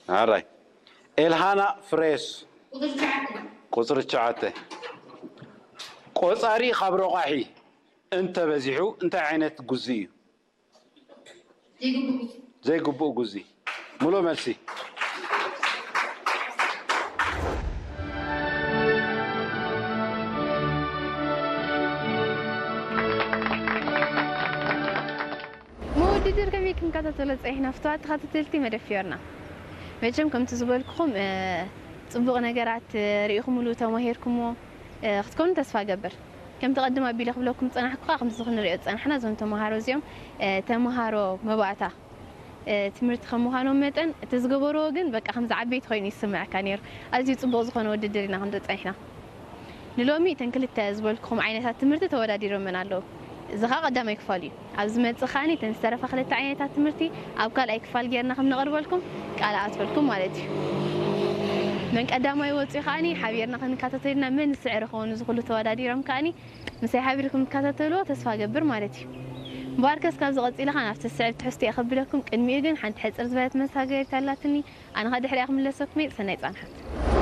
ኣራይ ኤልሃና ፍሬስ ቁፅሪ ትሽዓተ። ቆፃሪ ካብ ረቋሒ እንተበዚሑ እንታይ ዓይነት ጉዚ እዩ? ዘይግቡእ ጉዚ። ሙሉእ መልሲ። መወድድር ከመይ ክንከታተሎ ፀኒሕና ፍትዋት ተኸታተልቲ መደብ ፊዮርና? መቸም ከምቲ ዝበልኩኹም ጽቡቕ ነገራት ርኢኹምሉ ተማሂርኩሞ ክትኮኑ ተስፋ ገብር። ከምቲ ቀድም ኣቢለ ክብለኩም ዝጸናሕኩ ከዓ ከምዚ ክንሪኦ ዝጸናሕና እዞም ተማሃሮ እዚኦም ተማሃሮ መባእታ ትምህርቲ ከም ምዃኖም መጠን እቲ ዝገበርዎ ግን በቃ ከምዚ ዓበይቲ ኮይኑ ይስምዐካ ነይሩ። ኣዝዩ ጽቡቕ ዝኾነ ውድድር ኢና ክንርኢ ጸኒሕና። ንሎሚ እተን ክልተ ዝበልኩኹም ዓይነታት ትምህርቲ ተወዳዲሮመን ኣለዉ። እዚ ኸኣ ቀዳማይ ክፋል እዩ። ኣብ ዝመጽእ ከኣኒ እተን ዝተረፋ ክልተ ዓይነታት ትምህርቲ ኣብ ካልኣይ ክፋል ጌርና ከም ነቕርበልኩም ቃል ኣትወልኩም ማለት እዩ። መን ቀዳማይ ወጺኡ ከኣኒ ሓቢርና ክንከታተልና መን ዝስዕር ይኸውን። እዚ ኩሉ ተወዳዲሮም ከኣኒ ምሳይ ሓቢርኩም ትከታተልዎ ተስፋ ገብር ማለት እዩ። እምበኣርከስ ካብዚ ቀጺለ ኸኣ ናብቲ ዝስዕብ ትሕዝቶ እየ ከብለኩም። ቅድሚኡ ግን ሓንቲ ሕጽር ዝበለት መሳገሪት ኣላትኒ። ኣነ ኸኣ ድሕሪኣ ክምለሰኩም እየ። ሰናይ ጻንሓት።